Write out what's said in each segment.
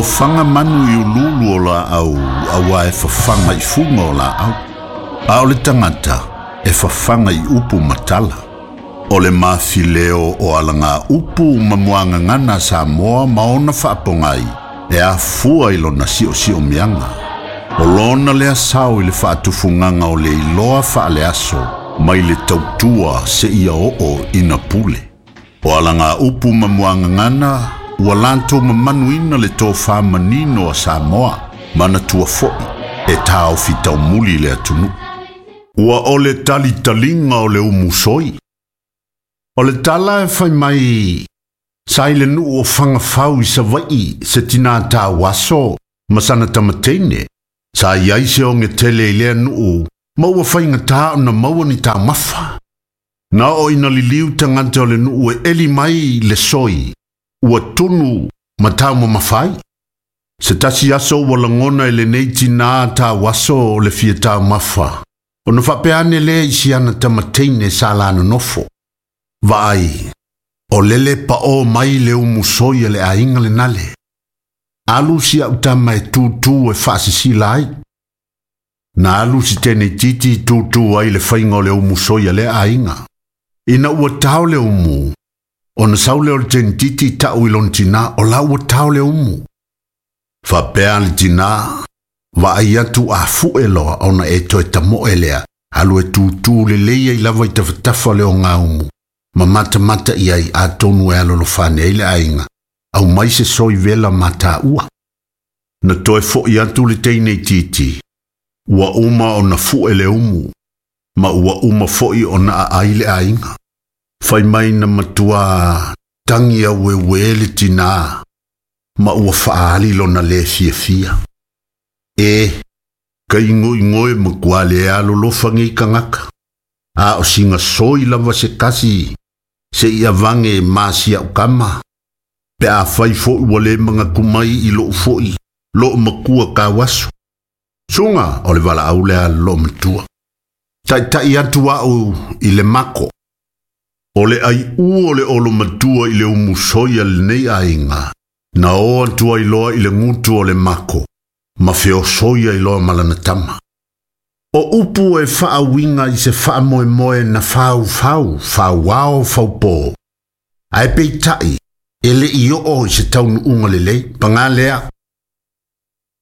Ofaga manu i uluulu o laau auā e fafaga i fuga o laau, a o le tagata e fafaga i upu ma tala. O le mafileo o alagaupu ma muagagana a Samoa ma ona faapogai e afua i lona siosiomiaga. O lona lea sao i le faatufugaga o le iloa faaleaso mai le tautua seia oo ina pule. O alagaupu ma muagagana ua latou mamanuina le tofa manino a Samoa, manatua foi e taofi taumuli le atunuu. Ua o le talitaliga o le umusoi. O le tala e fai mai sa i le nuu o Fagafau i Savaii se tinā tauaso ma sana tamateine. Sa i ai se oge tele i lea nuu ma ua faigata ona maua ni taumafa. Na oo ina liliu tagata o le nuu e eli mai le soi, ua tunu ma taumamafa ai. Se tasi aso ua lagona e lenei tinā tauaso le fia taumafa, ona faapea ane lea i si ana tamateine sa la nonofo. Vaai, o lele paʻō mai le umusoi a le aiga lenale. Alu si au tama e tūtū e faasisila ai. Na alu si teneititi i tūtū ai le faiga o le umusoi a lea aiga. Ina ua tao le umu, ona sau lea o le teneititi ta'u i lona tinā, o la ua tao le umu. Faapea le tinā, vaai atu a fu'e loa ona e toe tamo'e lea, alu e tūtū lelei ai lava i tafatafa o le ogaumu, ma matamata i ai atonu e alolofa ane ai le aiga, aumai se soi vela ma tāua. Na toe fo'i atu le teineitiiti, ua uma ona fu'e le umu, ma ua uma fo'i ona aai le aiga. Fai mai na matuā tagi aueuē le tinā, ma ua faaali lona le fiafia. E, ka igoigo e matua le alolofa nei tagata. A o sina soi lava se kasi, seia vage ma si au kama. Pe afai fo'i ua le manatu mai i lou fo'i, loo makua tauaso. Suga o le valaau lea a le loomatua. Taitai atu au i le mako. O le aiʻū o le olomatua i le umusoi a lenei aiga, na o atu ai loa i le gutu o le mako, ma feosoi ai loa ma lana tama. O upu e faauiga i se faamoemoe na faufau, fauao, faupō. Ae peitai, e le'i oo i se taunuuga lelei, pagā lea,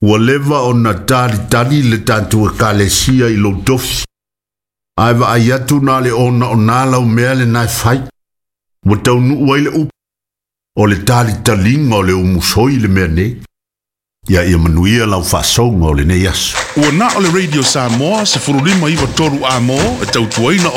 ua leva ona talitali le tatou Ekalesia i lou tofi. Ae vaai atu na o le onaona lau mea lena e fai. Ua taunuu ai le upu, o le talitaliga o le umusoi le mea nei. Ia ia manuia lau faasouga o lenei aso. Ua na o le Radio Samoa 15 9 3 Amo e tautuaina.